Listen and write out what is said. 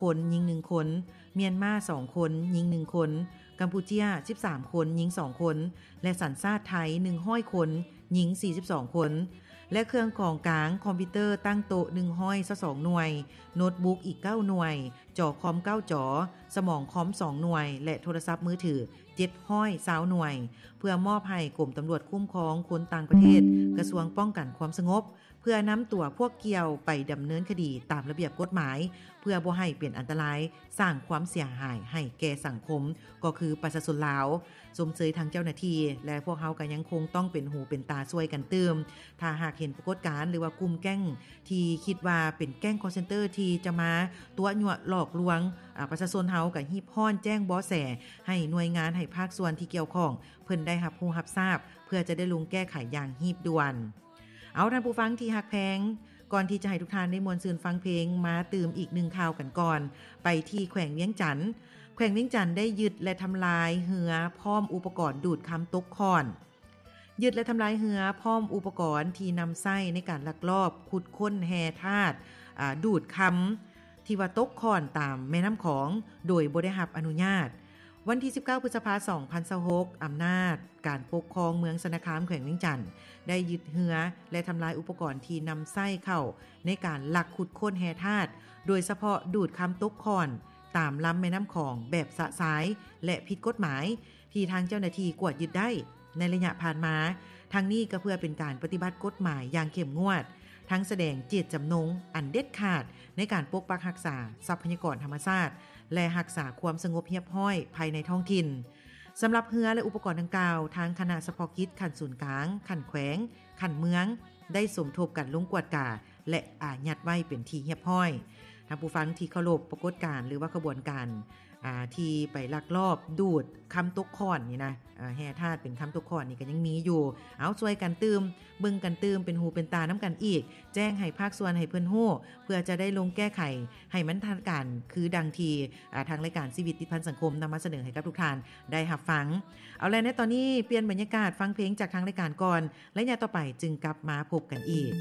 ຄົນ, ຍິງໜຶ່ງຄົນ, ມຽນມາສອງຄົນ, ຍິງໜຶ່ງຄົນ, ກຳປູເຈຍສິບສາມຄົນ, ຍິງສອງຄົນ ແລະ ສັນຊາດໄທໜຶ່ງຮ້ອຍຄົນ, ຍິງສີ່ສິບສອງຄົນ ແລະ ເຄື່ອງຂອງກາງຄອມພິວເຕີຕັ້ງໂຕະໜຶ່ງຮ້ອຍຊາວສອງໜ່ວຍ, ໂນດບຸກອີກເກົ້າໜ່ວຍ, ຈໍຄອມເກົ້າຈໍ, ສະໝອງຄອມສອງໜ່ວຍ ແລະ ໂທລະສັບມືຖືເຈັດຮ້ອຍຊາວໜ່ວຍ ເພື່ອມອບໃຫ້ກົມຕຳຫຼວດຄຸ້ມຄອງຄົນຕ່າງປະເທດ ກະຊວງປ້ອງກັນຄວາມສະຫງົບ ເພື່ອນຳຕົວພວກກ່ຽວໄປດຳເນີນຄະດີຕາມລະບຽບກົດໝາຍ ເພື່ອບໍ່ໃຫ້ເປັນອັນຕະລາຍ ສ້າງຄວາມເສຍຫາຍໃຫ້ແກ່ສັງຄົມ ກໍຄືປະຊາຊົນລາວ. ຊົມເຊີຍທາງເຈົ້າໜ້າທີ່ ແລະ ພວກເຮົາກໍຍັງຄົງຕ້ອງເປັນຫູເປັນຕາຊ່ວຍກັນຕື່ມ. ຖ້າຫາກເຫັນປາກົດການ ຫຼືວ່າກຸ່ມແກ້ງທີ່ຄິດວ່າເປັນແກ້ງຄອລເຊັນເຕີທີ່ຈະມາຕົວະຍົວະຫຼອກລວງ ອາ ປະຊາຊົນເຮົາ ກໍຮີບຮ້ອນແຈ້ງເບາະແສໃຫ້ໜ່ວຍງານ ໃຫ້ພາກສ່ວນທີ່ກ່ຽວຂ້ອງ ເພິ່ນໄດ້ຮັບຮູ້ຮັບຊາບ ເພື່ອຈະໄດ້ລົງແກ້ໄຂຢ່າງຮີບດ່ວນ. ເອົາ ທ່ານຜູ້ຟັງທີ່ຮັກແພງ, ກ່ອນທີ່ຈະໃຫ້ທຸກທ່ານໄດ້ມ່ວນຊື່ນຟັງເພງ ມາຕື່ມອີກໜຶ່ງຂ່າວກັນກ່ອນ. ໄປທີ່ແຂວງວຽງຈັນ. ແຂວງວຽງຈັນໄດ້ຍຶດ ແລະ ທຳລາຍເຮືອພ້ອມອຸປະກອນດູດຄຳຕົກຂ້ອນ. ຍຶດ ແລະ ທຳລາຍເຮືອພ້ອມອຸປະກອນທີ່ນຳໃຊ້ໃນການລັກລອບຂຸດຄົ້ນແຮ່ທາດ ອາ ດູດຄຳ ທີ່ວ່າຕົກຂ້ອນຕາມແມ່ນ້ຳຂອງ ໂດຍບໍ່ໄດ້ຮັບອະນຸຍາດ. ວັນທີສິບເກົ້າ ພຶດສະພາ ສອງພັນຊາວຫົກ ອຳນາດການປົກຄອງເມືອງຊະນະຄາມ ແຂວງວຽງຈັນ ໄດ້ຍຶດເຮືອ ແລະ ທຳລາຍອຸປະກອນທີ່ນຳໃຊ້ເຂົ້າໃນການລັກຂຸດຄົ້ນແຮ່ທາດ ໂດຍສະເພາະດູດຄຳຕົກຂ້ອນຕາມລຳແມ່ນ້ຳຂອງແບບຊະຊາຍ ແລະ ຜິດກົດໝາຍ ທີ່ທາງເຈົ້າໜ້າທີ່ກວດຍຶດໄດ້ໃນໄລຍະຜ່ານມາ. ທັງນີ້ກໍເພື່ອເປັນການປະຕິບັດກົດໝາຍຢ່າງເຂັ້ມງວດ, ທັງສະແດງເຈດຈຳນົງອັນເດັດຂາດໃນການປົກປັກຮັກສາຊັບພະຍາກອນທຳມະຊາດ ແລະ ຮັກສາຄວາມສະຫງົບຮຽບຮ້ອຍພາຍໃນທ້ອງຖິ່ນ. ສຳລັບເຮືອ ແລະ ອຸປະກອນດັ່ງກ່າວ, ທາງຄະນະສະເພາະກິດຂັ້ນສູນກາງ, ຂັ້ນແຂວງ, ຂັ້ນເມືອງ ໄດ້ສົມທົບກັນລົງກວດກາ ແລະ ອາຍັດໄວ້ເປັນທີ່ຮຽບຮ້ອຍ. ທ່ານຜູ້ຟັງທີ່ເຄົາລົບ, ປາກົດການ ຫຼືວ່າຂະບວນການ ອາ ທີ່ໄປລັກລອບດູດຄຳຕົກຂ້ອນນີ້ນະ, ອາ ແຮ່ທາດເປັນຄຳຕົກຂ້ອນນີ້ກໍຍັງມີຢູ່. ເອົາ, ຊ່ວຍກັນຕື່ມ, ເບິ່ງກັນຕື່ມ, ເປັນຫູເປັນຕານຳກັນອີກ, ແຈ້ງໃຫ້ພາກສ່ວນໃຫ້ເພິ່ນຮູ້ ເພື່ອຈະໄດ້ລົງແກ້ໄຂໃຫ້ມັນທັນການ ຄືດັ່ງທີ່ ອາ ທາງລາຍການຊີວິດຕິດພັນສັງຄົມນຳມາສະເໜີໃຫ້ກັບທຸກທ່ານໄດ້ຮັບຟັງ. ເອົາແລະ, ໃນຕອນນີ້ປ່ຽນບັນຍາກາດຟັງເພງຈາກທາງລາຍການກ່ອນ, ໄລຍະຕໍ່ໄປຈຶ່ງກັບມາພົບກັນອີກ.